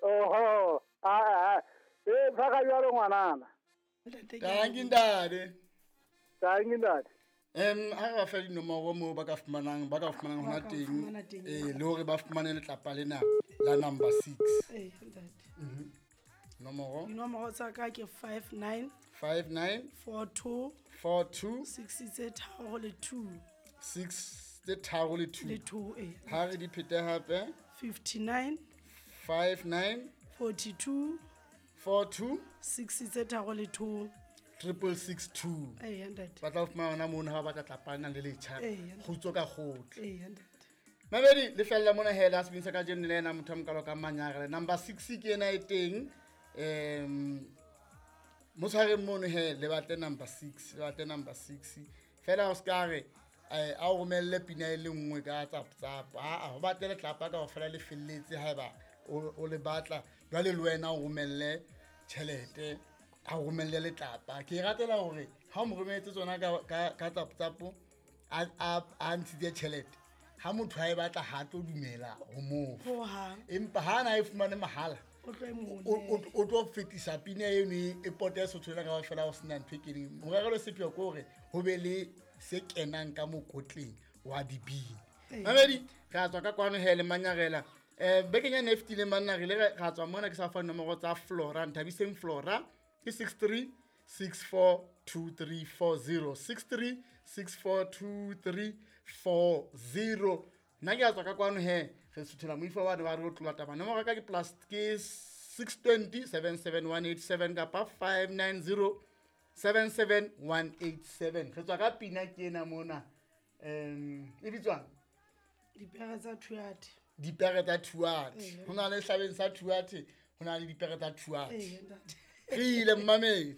Oho, aa, e tshwara jwalo ngwanana. Tanki ntate. Tanki ntate. Ha re ba fe dinomoro moo ba ka fumanang ba ka fumanang hona teng, eh, le hore ba fumane letlapa lena la number 6. Ee, ntate. Nomoro? Dinomoro tsa ka ke 59 59 42 42 6 tse 3 le 2. 6 tse 3 le 2. Le 2, ee. Ha re di phete hape. 59 59 42 42 6 tse 3 le 2. 6662. Ee, ntate. Ba tla fumana hona mono ha ba batla tlapana le letjha. Ee. Kgutso ka kgotla. Ee, ntate. Mamedi le fella mona hela sebeng sa kajeno le ena motho a mokalo ka manyare. Number 6 ke ena e teng. Mo tshwareng mono he le batle number 6, le batle number 6. Fela o ska re a o romelle pina e le nngwe ka tsap-tsap. Aa, ho batle letlapa kaofela le felletse haeba o le batla. Jwale le wena o romelle tjhelete, a o romelle letlapa. Ke e ratela hore ha o mo rometse tsona ka tsap-tsap, a ntshitse tjhelete. Ha motho a e batla ha tlo dumela ho mo fa. Hohang. Empa ha na e fumane mahala, O tlo e mo o tlo fetisa pina eno e pote Sotho lena kaofela ho sena ntho e keneng. Morero le sepheo ke hore ho be le se kenang ka mokotleng wa dibini. Ee. Mamedi, re a tswa ka kwano he le Manyarela. Bekeng ya ne e fetileng banna re ile ra tswa mona ke sa fa nomoro tsa Flora, Nthabiseng Flora ke 63 64 2340, 63 64 2340. Nna ke a tswa ka kwano he, re suthela moifo wa ne ba re o tlola taba. Nomoro ya ka ke plus ke 620 77187 kapa 590 77187. Re tswa ka pina ke ena mona. E bitswang? Dipere tsa Thuate. Dipere tsa Thuate. Ee. Ho na le hlabeng sa Thuate, ho na le dipere tsa Thuate. Ee, ntate. Re ile mmamedi.